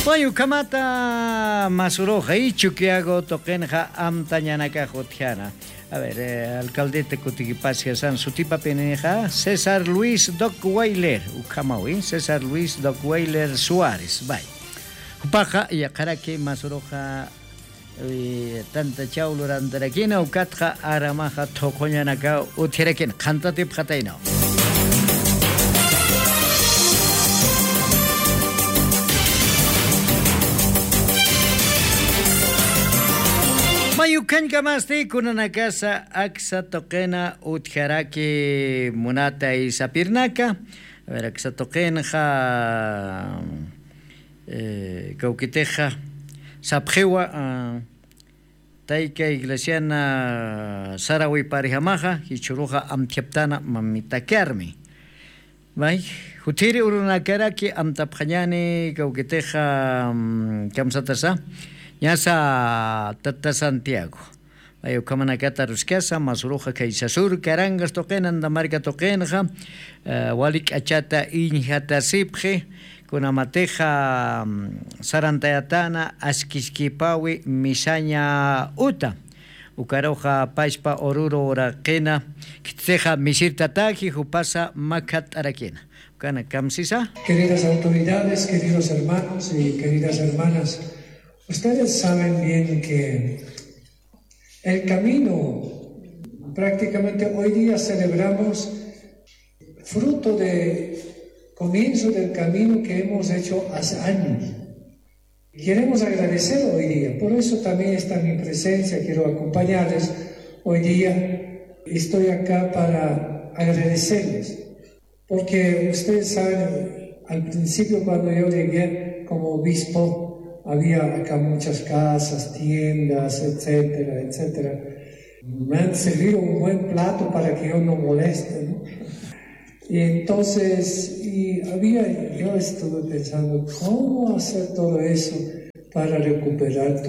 Mayukamata masuroja y chuquiago toquenja amtañanaka jotjana. A ver, alcaldete kutikipasia san sutipa peneja César Luis Dockweiler, ukamawi, César Luis Dockweiler Suárez, bye. Upaja yaqaraki masuroja tanta chawlurantarakina ukatqa aramaja thoqoñanaka uthirakina qhantatip qatayna. Mayukankamasti kunanakasa aksa toqena utjaraki munata y sapirnaka. A ver, aksa toqenja kaukiteja sapjewa taika iglesiana sarawi parijamaja hichuruja amtiaptana mamitakarmi. Bay, jutiri urunakaraki amtapjañani kaukiteja kamsatasa. Ñasa Tata Santiago. Ayukamanakata ruskasa, masuruja kaysasur, karangas toqena, andamarca toqenja, walik achata injata sipje, kunamateja sarantayatana, askiskipawi, misaña uta. Ukaroja pashpa oruro oraqena, kitseja misirtataji, jupasa makat arakena. Ukana kamsisa. Queridas autoridades, queridos hermanos y queridas hermanas, ustedes saben bien que el camino, prácticamente hoy día celebramos fruto de comienzo del camino que hemos hecho hace años. Queremos agradecer hoy día, por eso también está mi presencia, quiero acompañarles hoy día. Estoy acá para agradecerles, porque ustedes saben, al principio cuando yo llegué como obispo, había acá muchas casas, tiendas, etcétera, etcétera. Me han servido un buen plato para que yo no moleste, ¿no? Y entonces, yo estuve pensando, ¿cómo hacer todo eso para recuperar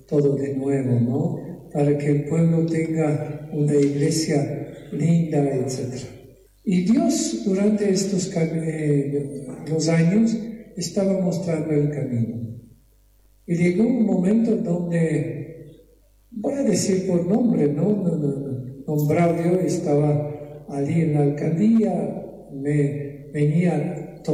todo de nuevo, ¿no? Para que el pueblo tenga una iglesia linda, etcétera. Y Dios, durante estos los años, estaba mostrando el camino. Y llegó un momento donde, voy a decir por nombre, ¿no? Nombrado yo, estaba allí en la alcaldía, me venía a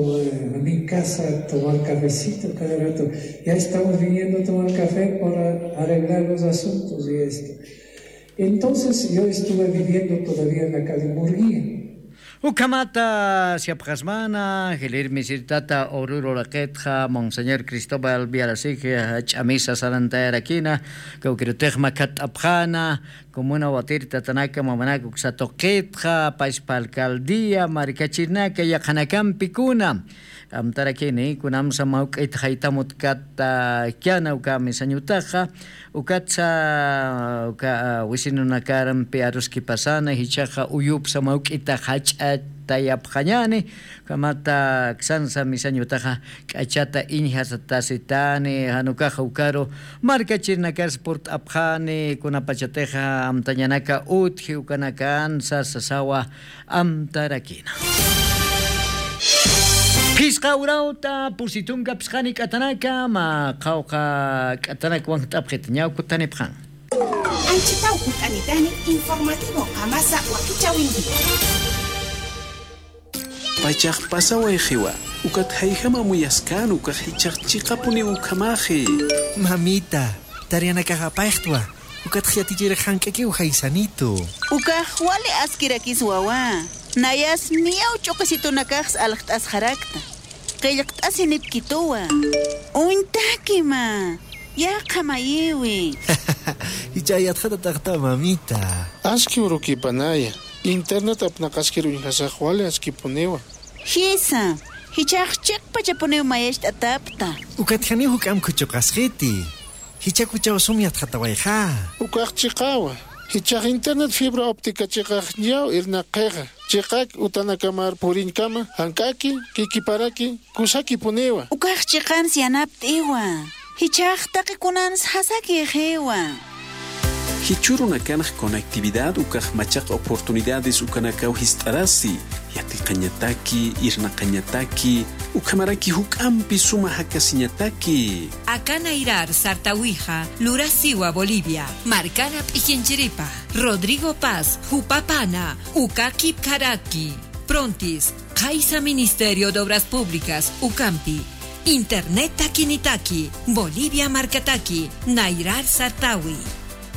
mi casa a tomar cafecito cada rato. Ya estamos viniendo a tomar café para arreglar los asuntos y esto. Entonces yo estuve viviendo todavía en la calle Murguía. Ukamata siapjasmana, Gelir misirtata oruro raquetja, Monseñor Cristóbal Viarasige, chamisa sarantayarakina, Cauquirutejma katapjana, Comuna Watirta Tanaka, Mamanaka, Uxatoquetja, Paispa Alcaldía, Maricachinaka, Yajanacampicuna. Amtarakini, kunamsa mauk'it haytamut kata kiana uka misañutaja, ukatsa uka wisinunakaranpi aruski pasana, hichaja uyupsa mauk'ita hach'atayapjañani, kamata ksansa misañutaja k'achata iñjasatasitani, hanukaja ukaru markachirnakas purt'apjani, kunapachateja amtañanaka utji ukanakansa sasawa amtarakina. Pisqa urauta pusitunka pisqani k'atanaka ma qhawqa k'atanaka wan t'apqita ñawkutanipqan. Anchitaw kut'anitani informativo qamasa wakichawinki. Pachaq pasaway qiwa ukat hayhama muyaskan ukaq hichaq chiqapuni ukamaji. Mamita, tarianakaqa payqtwa. Ukat khiyatichira hank'aki uhaysanito. Ukaq wali askirakis wawa. Nayas miyaw ch'uqisitunakaqs alqt'as harakta. Qillqt'asi nipkituwa. Untakima. Yaqa mayiwi. Hichayatqata taqta mamita. Aski urukipanaya. Internet apnaqaskiru inhasaq wali askipuniwa. Hisa. Hichaq chiqpachapuniw mayashta atapta. Ukatjani huk amkuchuqasqiti. Hichakuchaw sumyatqatawayqa. Ukaq chiqawa. Hichaq internet fibra óptica chiqaq ñaw irnaqeqa. Chiqak utanakamar purinkama hank'aki kikiparaki kusaki puniwa. Ukaq chiqan sianapt'iwa. Hichaq taqikunans hasaki qiwa. Hichurunakanaj conectividad ukaj machaq oportunidades ukanakaw hist'arasi. Yatiqañataki, irnaqañataki, ukhamaraki huk'ampi suma hakasiñataki. Akanairar Sartawija, Lurasiwa, Bolivia, Marcana Pijinchiripa, Rodrigo Paz, Jupapana, Ukaki Karaki, Prontis, Kaisa Ministerio de Obras Públicas, Ucampi, Internet Takinitaki, Bolivia Marcataki, Nairar Sartawi.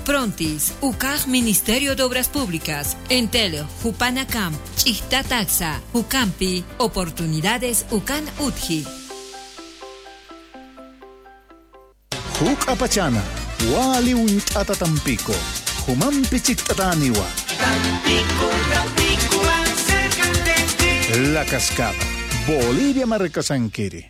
Prontis, UCAJ Ministerio de Obras Públicas, Entel, Jupanacamp, Chichtataxa, Ucampi, Oportunidades Ucan Utji. Huk apachana, wali unt'ata Tampico, Jumampi chiktataniwa. Tampico, Tampico, acércate. La Cascada, Bolivia Marcasanquiri.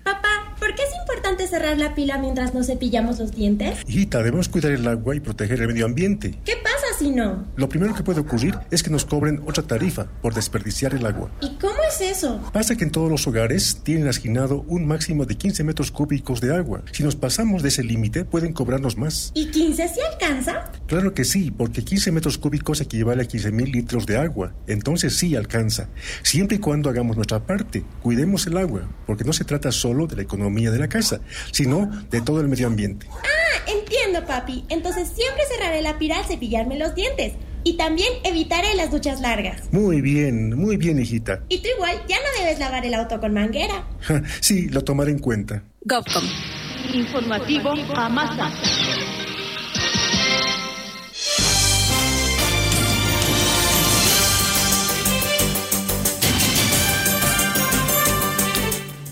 Papá, ¿por qué es importante cerrar la pila mientras nos cepillamos los dientes? Hijita, debemos cuidar el agua y proteger el medio ambiente. ¿Qué pasa si no? Lo primero que puede ocurrir es que nos cobren otra tarifa por desperdiciar el agua. ¿Y cómo es eso? Pasa que en todos los hogares tienen asignado un máximo de 15 metros cúbicos de agua. Si nos pasamos de ese límite, pueden cobrarnos más. ¿Y 15 sí alcanza? Claro que sí, porque 15 metros cúbicos equivale a 15.000 litros de agua. Entonces sí alcanza. Siempre y cuando hagamos nuestra parte, cuidemos el agua, porque no se trata solo de la economía de la casa, sino de todo el medio ambiente. Ah, entiendo, papi. Entonces siempre cerraré la pila al cepillarme los dientes. Y también evitaré las duchas largas. Muy bien, hijita. Y tú igual ya no debes lavar el auto con manguera. Sí, lo tomaré en cuenta. Govcom. Informativo Amasa.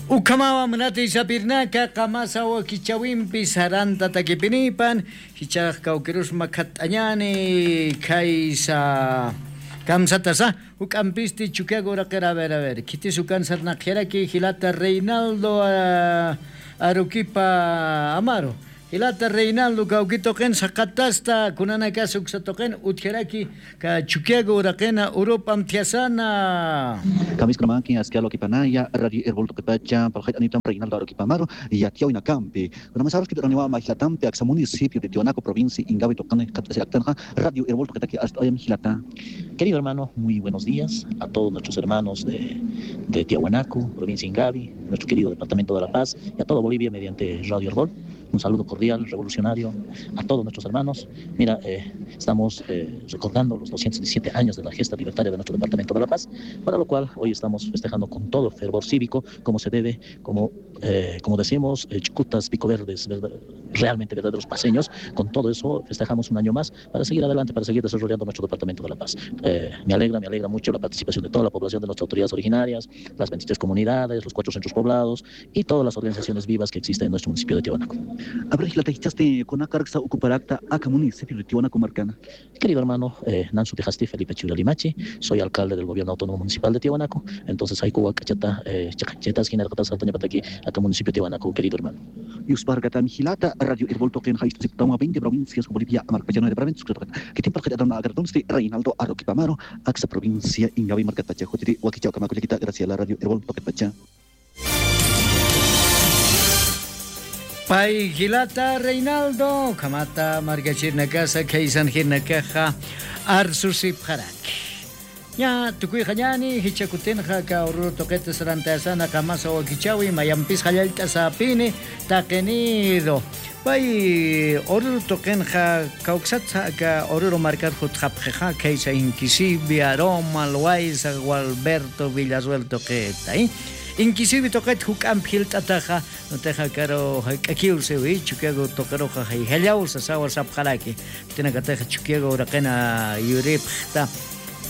Ukamawa munati sapirnaka qamasa wakichawinpi saranta takipinipan hichaq kawkirusma khat'añani kaysa kamsatasa uk'ampisti chukiago uraqera a ver kitis ukan sarnaqjaraki hilata Reinaldo Aruquipa Amaro hilata Reinaldo kawkitoqen saqatasta kunanaka suksatoqen utjaraki ka chukiago uraqena Urupa mtiasana Kamiskromaki askialo kipanaya radio Herbol tokepacha paljait anitam Reinaldo Aruquipa Amaro y atiao inacampi kunamasaros kitoraniwa mahilatampi aksa municipio de Tiwanaku provincia Ingavi tocane katasiactanja radio Herbol toketaki hasta ayam hilata. Querido hermano, muy buenos días a todos nuestros hermanos de Tiahuanaco, provincia Ingavi, nuestro querido departamento de La Paz y a toda Bolivia mediante Radio Herbol. Un saludo cordial, revolucionario a todos nuestros hermanos. Mira, estamos recordando los 217 años de la gesta libertaria de nuestro departamento de La Paz, para lo cual hoy estamos festejando con todo fervor cívico, como se debe, como decimos, chucutas, picoverdes, realmente verdaderos paseños. Con todo eso festejamos un año más para seguir adelante, para seguir desarrollando nuestro departamento de La Paz. Me alegra mucho la participación de toda la población de nuestras autoridades originarias, las 23 comunidades, los 4 centros poblados y todas las organizaciones vivas que existen en nuestro municipio de Tiahuanaco. Querido hermano, Nansu Tejasti Felipe Churalimachi, soy alcalde del gobierno autónomo municipal de Tiahuanaco. Entonces, hay Cachata, Chacachetas, Ginarcatas, Saltañapataki, acá municipio de Tiahuanaco, querido hermano. Radio Herbol Token, 20 provincias, Bolivia, Marcayano de que tiempo Reinaldo Aruquipa Amaro, Axa provincia, Ingavi, Marcatacha, Jotiri, Huaquichao, Camaculiquita, gracias a la Radio Herbol Token. Pai Gilata Reinaldo, Kamata Margachirna Casa, Kaisan Hirnakaja, Arsusip Harak. Ya, tukuyqañani, hichakutinqa ka Oruro toqeta sarantasana qamasa wakichawi, mayampis qallalta sapini, taqinido. Pay Oruro toqenqa kawksatsa ka Oruro marcar jutqapqeja, kaysa Inquisivi, Aroma, Loaiza, Gualberto, Villarruel toqeta, ¿eh? Inquisivi toqet huk'ampi hilt'ataqa noteja karo hayk'akiwsiwi chukiago toqeroqa hayhallawsa sawa sapqaraki tinakateja chukiago uraqena yuripqta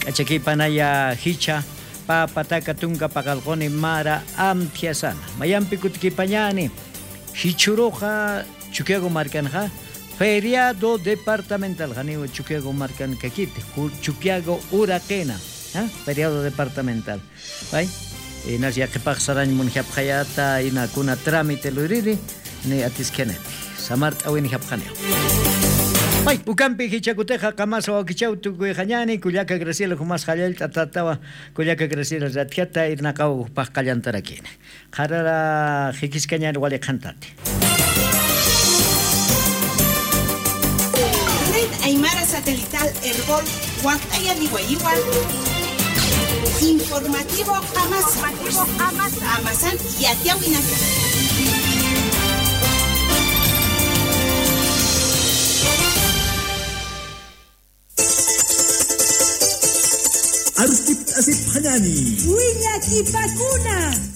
k'achakipanaya hicha papataka tunka paqalquni mara amtiasana mayampi kutikipañani hichuroqa chukiago markanja feriado departamental janiwa chukiago markan kakite chukiago uraqena feriado departamental bay Inas yaqipaq sarañ munjapqayata inakuna trámite luriri ni atiskeneti samart awin japqaneo. Ay, ukampi hichakuteja qamasa wakichaw tukuyqañani kullaka Graciela humas qallalta tatawa kullaka Graciela ratjata irnaqaw paqallantarakina. Qarara hikiskañani waliqantati. Red Aymara Satélite. Satelital Herbol Huantayaniwayiwa. Informativo Amasa. Amasan Yatiawinaka.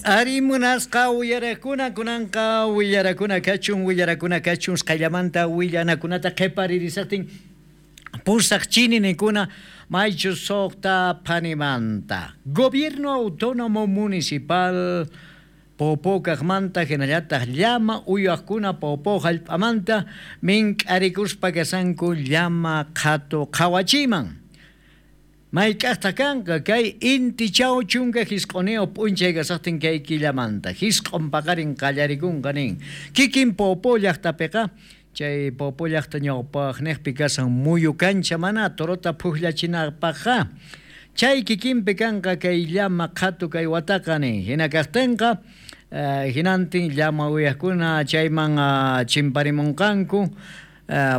Ari munasqa willarakuna kunanqa willarakuna kachun sqallamanta willanakunata qhiparirisaqtin pusaq chininikuna maychu suqta phanimanta. Gobierno Autónomo Municipal Popo kaqmanta hinallataq llama uywaqkuna Popo hallp'amanta mink'arikuspa kasanku llama qhatu qhawachiman. Mayk'aqtaq kanqa kay inti chaw chunka hisq'uniyuq p'unchay kasaqtin kay killamanta hisq'un paqarin qallarikunqa nin kikin Popo llaqtapiqa chay Popo llaqta ñawpaqniqpi kasan muyu kancha mana torota phukllachinapaqqa chay kikinpi kanqa kay llama qhatu kay wataqa nin hina kaqtinqa hinantin llama uywaqkuna chayman chimparimunqanku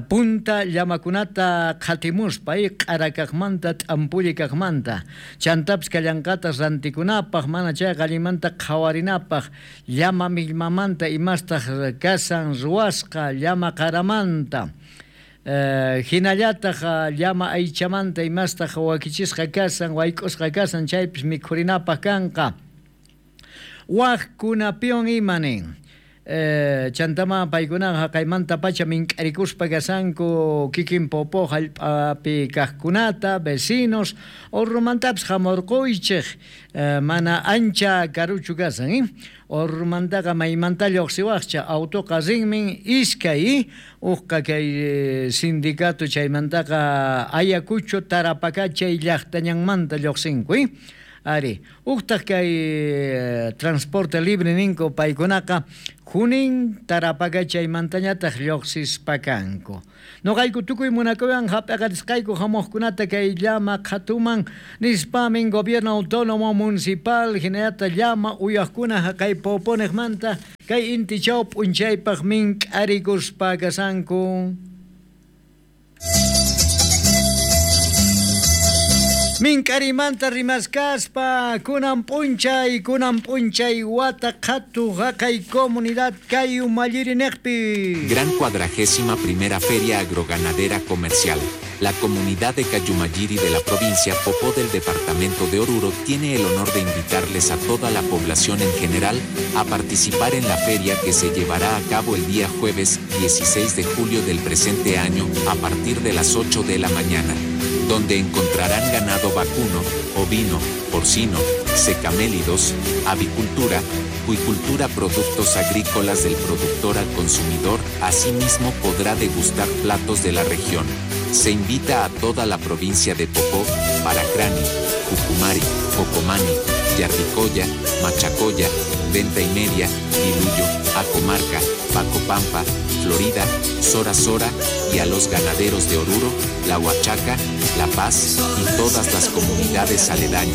punta llamakunata qhatimuspa q'arakaqmanta t'ampulli kaqmanta chantapis kallanqata rantikunapaq mana chayqa allinmanta qhawarinapaq llama millmamanta imastaq kasan ruwasqa llama qaramanta hinallataq llama aychamanta imastaq wakichisqa kasan wayk'usqa kasan chaypis mikhurinapaq kanqa waqkunapiwan ima nin. Chantama paykunaqa haqaymanta pacha mink'arikuspa kasanku kikin Popo hallp'api kaqkunata vecinos Orrumantapis hamurquychik mana ancha karuchu kasan Orrumantaqa maymanta lluqsiwaqcha autoqa rinmin iskay uqqa kay sindicato chaymantaqa Ayacucho Tarapacá chay llaqtañanmanta lluqsinku. Ari, uqtaq kay transporte libre ninku paykunaqa Junín Tarapacá chaymantañataq lluqsispa kanku. Noqayku tukuy munakuywan hap'aqarisqayku hamuqkunata kay llama qhatuman nispamin Gobierno Autónomo Municipal hinallataq llama uywaqkuna haqay Poponiqmanta kay inti chaw p'unchaypaq mink'arikuspa kasanku. Mink'arimanta rimaskaspa kunan p'unchay wata qhatu haqay comunidad kay umalliriniqpi. Gran 41ª Feria Agroganadera Comercial. La comunidad de Cayumayiri de la provincia Popó del departamento de Oruro tiene el honor de invitarles a toda la población en general a participar en la feria que se llevará a cabo el día jueves 16 de julio del presente año a partir de las 8 de la mañana, donde encontrarán ganado vacuno, ovino, porcino, secamélidos, avicultura, acuicultura, productos agrícolas del productor al consumidor. Asimismo podrá degustar platos de la región. Se invita a toda la provincia de Popó, Paracrani, Jucumari, Cocomani, Yarricoya, Machacoya, Venta y Media, Diluyo, Acomarca, Pacopampa, Florida, Sora Sora y a los ganaderos de Oruro, La Huachaca, La Paz y todas las comunidades aledañas.